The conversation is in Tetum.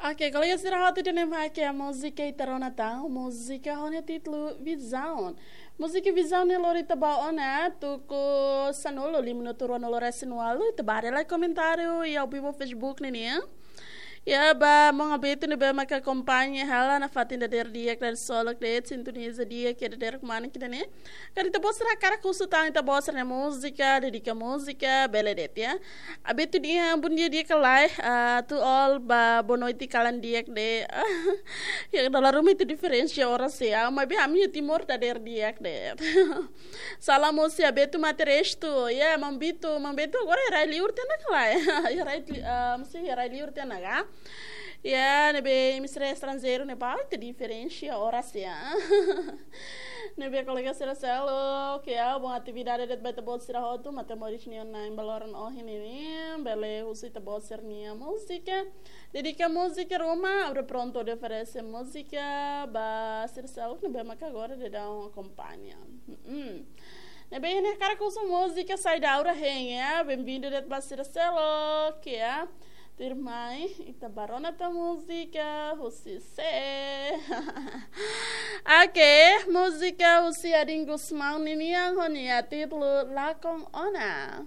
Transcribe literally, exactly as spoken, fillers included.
Oke, kolega sira hotu, ida-ne'e mak múzika ita rona tan, múzika ho nia títulu Vizaun. Múzika Vizaun ne'e lori ita ba ona tuku sanulu, lima minutu ruanulu resin ualu, ita bá haree lai komentáriu iha ao vivo Facebook ne'e nian. Ya, ba maun Abeto ne'ebé maka akompaña hela nafatin dadeer di'ak, dadeer solok de'it, sintoniza di'ak iha dadeer kmanek ida-ne'e. Karik ita-boot sira hakarak husu tan ita-boot sira-nia múzika, dedika múzika, bele de'it ya. Abeto dehan bondia di'ak ka lae, ah, to all ba boa noite kalan di'ak de'it. Ya, dala ruma ita diferensa oras ya, maibé ami iha Timor dadeer di'ak de'it. Salam husi Abeto Mate Restu, ya, maun Beto, maun Beto agora iha rai-liur tiha ona ka lae. Iha rai li-, ah, mesti iha rai-liur tiha ona ka? Ya, ne'ebé imi sira estranjeiru ne'e ba ita diferensa oras ya. Ne'ebé kolega sira seluk, oke ya, bom atividade de'it ba ita-boot sira hotu, matemoris nian na'in ba loron ohin ne'e, bele husu ita-boot sira-nia múzika. Dedika múzika ruma, abra pronto de oferese múzika ba sira seluk ne'ebé maka agora daudaun akompaña. Mm-mm. Ne'ebé imi hakarak husu múzika saida, agora hein ya, benvindu de'it ba sira seluk ya. Tuirmai, ita bá rona tan múzika husi sé. Oke, múzika husi Adin Gusmão ninian ho nia títulu Lakon Ona.